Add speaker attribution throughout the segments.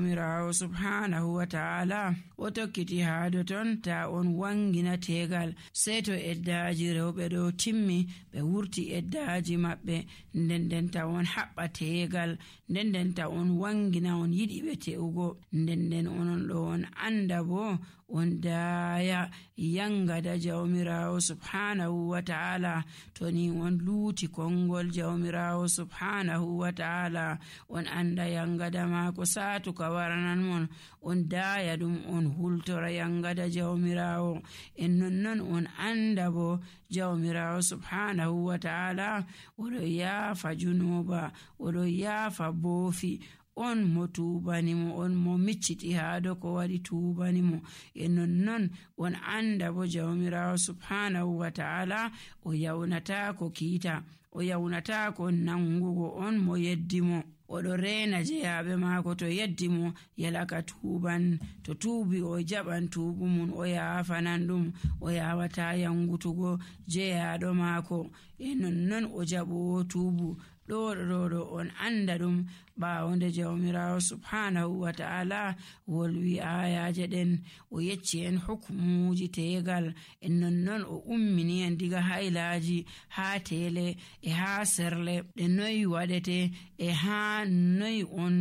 Speaker 1: jawmirawo subhanahu wa ta'ala o tokkiti haado ton ta on wangina tegal sei to eddaji rewɓe ɗo timmi ɓe wurti eddaji maɓɓe nden ta on haɓɓa tegal nden ta on wangina on yiɗi ɓe te'ugo nden onon ɗo on anda bo on daaya yangada jawmirawo subhanahu wa ta'ala to ni on luuti kongol jawmirawo subhanahu wa ta'ala on anda yangada maako saatuka waranan mon on daaya ɗum on hultora yangada jawmirawo en nonnon on anda bo jawmirawo subhanahu wa ta'ala oɗo yaafa junuba oɗo yaafa boofi on mo tuubanimo on mo micciti haado ko waɗi tuubanimo e nonnon on anda bo jawmirawo subhanahu wa ta'ala o yawnatako kiita o yawnatako nangugo on mo yeddimo oɗo reena jeyaɓe maako to yeddimo yalaka tuuban to tuubi o jaɓan tuubu mum o yaafanan ɗum o yawata yangutugo jeyaɗo maako e nonnon o jaɓowo tuubu ɗo on anda ɗum ɓawonde jawmirawo subhanahu wa ta'ala wolwi ayaje ɗen o yecci en hukmuji tegal en nonnon o ummini en diga haylaji ha tele e ha serle ɗe noyi waɗete e ha noyi on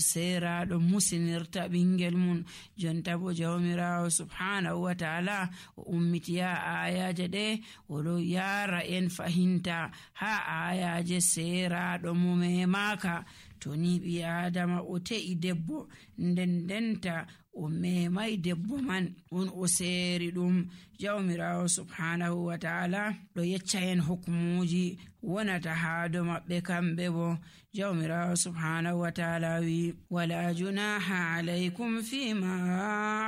Speaker 1: seraɗo musinirta ɓingel mum jonta bo jawmirawo subhanahu wa ta'ala o ummitiya ayaje ɗe oɗo yara en fahinta ha ayaje seraɗo mo memaka to ni ɓi adama o te'i debbo ndendenta o memai debbo man on o seeri ɗum jawmirawo subhanahu wa ta'ala ɗo yecca en hukmuji wonata haado maɓɓe kamɓe bo jawmirawo subhanahu wa ta'ala wi wala junaha alaykum fima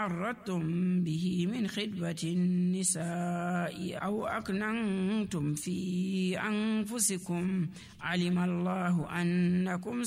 Speaker 1: arradtum bihi min khidbati nisa'i aw aknantum fi anfusikum alima allahu annakum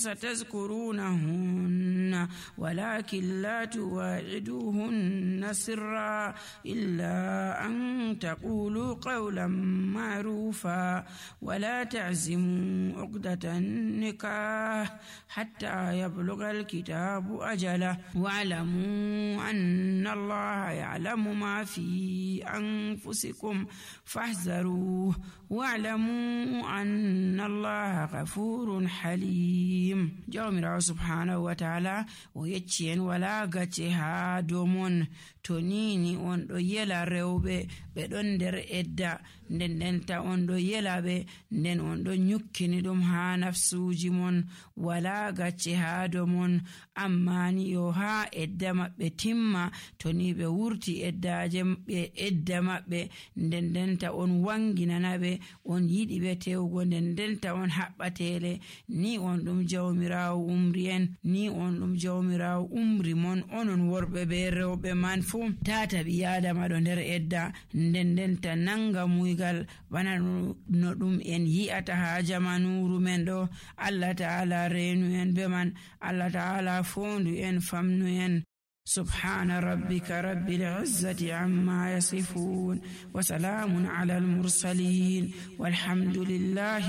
Speaker 1: satazkurunahunna walakin la tuwa'iduhunna sirra illa an taqulu qawlan ma'rufa wala ta'zimu 'uqdatan nikah hatta yablugha al-kitabu ajala wa'lamu anna allaha ya'lamu ma fi anfusikum fahzaruhu wa'lamu anna allaha ghafurun halim. Jawmirawo subhanahu wa ta'ala o yecci en wala gacce ha domon to nini on ɗo yela rewɓe ɓe ɗon nder edda ndendenta on ɗo yela ɓe nden on ɗo nyukkini ɗum ha nafsuji mon wala gacce ha domon amma ni yo ha edda maɓɓe timma to ni ɓe wurti eddaje ɓe edda maɓɓe ndendenta on wanginana ɓe on yiɗi ɓe tewgo ndendenta on haɓɓatele ni on ɗum jawmirawo umri en ni on ɗum jawmirawo umri mon onon worɓe ɓe rewɓe man fu tata ɓi adama ɗo nder edda ndendenta nanga muygal bana no ɗum en yi'ata ha jamanuru men ɗo Allah ta'ala reenu en be man Allah ta'ala fondu en famnu en سبحان ربك رب العزة عما يصفون وسلام على المرسلين والحمد لله